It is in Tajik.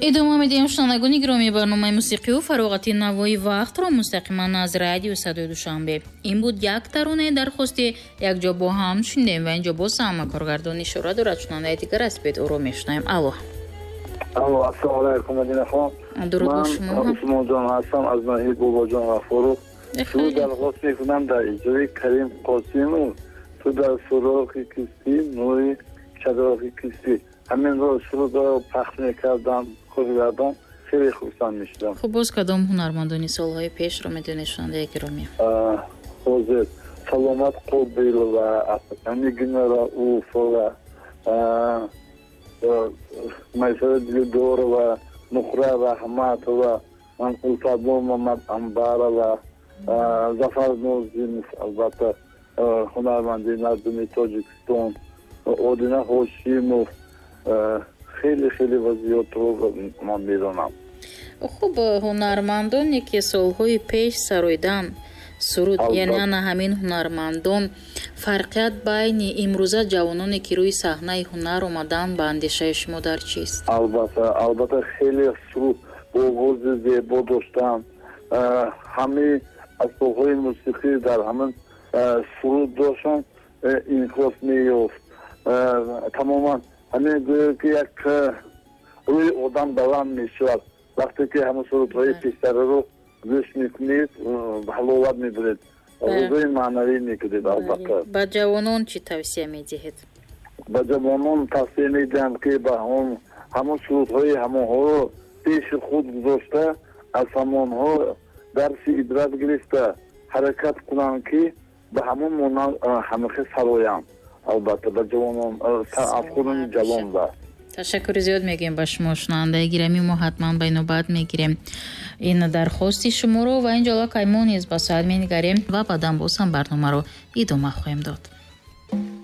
Идома медиҳем, шунавандагони гиромӣ, барномаи мусиқию фароғати «Навои вақтро» мустақиман аз радио Садои Душанбе. Ин буд як таронаи дархостӣ, якҷо бо ҳам шунидем ва инҷо боз ҳама коргардон ишора дорад, шунавандаи дигар аст, бед ӯро мешунавем. Алло. Алло, ассалому алайкум, Мадинахон. Дуруд ба шумо. Ман Усмонҷон ҳастам аз ноҳияи Бобоҷон Ғафуров. Суруд дархост мекунам дар иҷрои Карим Қосимов: «Ту дар суроғи кистӣ, нури чароғи кистӣ». Ҳаминро сурудро пахш мекардам, коргардон, хеле хурсанд мешудам. Хуб, боз кадом ҳунармандони солҳои пешро медонед, шунавандаи гиромӣ? Ҳозир Саломат Қобилова, Нигина Рауфова, Майсара Дилдорова, Нуқра Раҳматова, Улфатбо Мамад Амбарова, Зафар Нозимов, албатта, ҳунарманди мардуми Тоҷикистон, Одина Ҳошимов, хеле хеле ва зиёдро ман медонам. Хуб, ҳунармандоне ки солҳои пеш сароидан суруд, яъне ана ҳамин ҳунармандон, фарқият байни имрӯза ҷавононе, ки рӯи саҳнаи ҳунар омаданд, ба андешаи шумо дар чист? Албатта, албатта, хеле суруд бо овози зебо доштанд, ҳамаи асбобҳои мусиқӣ дар ҳамин суруд доштанд, инъикос меёфт тамоман. Ҳамин гӯё ки як рӯи одам баланд мешавад, вақте ки ҳамон сурудҳои пештараро гӯш мекунед, ҳаловат мебаред, ғизои маънавӣ мекунед, албатта. Ба ҷавонон чӣ тавсия медиҳед? Ба ҷавонон тавсия медиҳам, ки ба ҳамон сурудҳои ҳамонҳоро пеши худ гузошта, аз ҳамонҳо дарси ибрат гирифта, ҳаракат кунанд, ки ба ҳамон монанд ҳамихел сароянд. Албатта, ба ҷавонон, афкорони ҷавон ба Ташаккури зиёд мегӯем ба шумо, шунавандаи гиромӣ. Мо ҳатман ба инобат мегирем ин дархости шуморо ва инҷо аллакай мо низ ба соат менигарем ва баъдан боз ҳам барномаро идома хоҳем дод.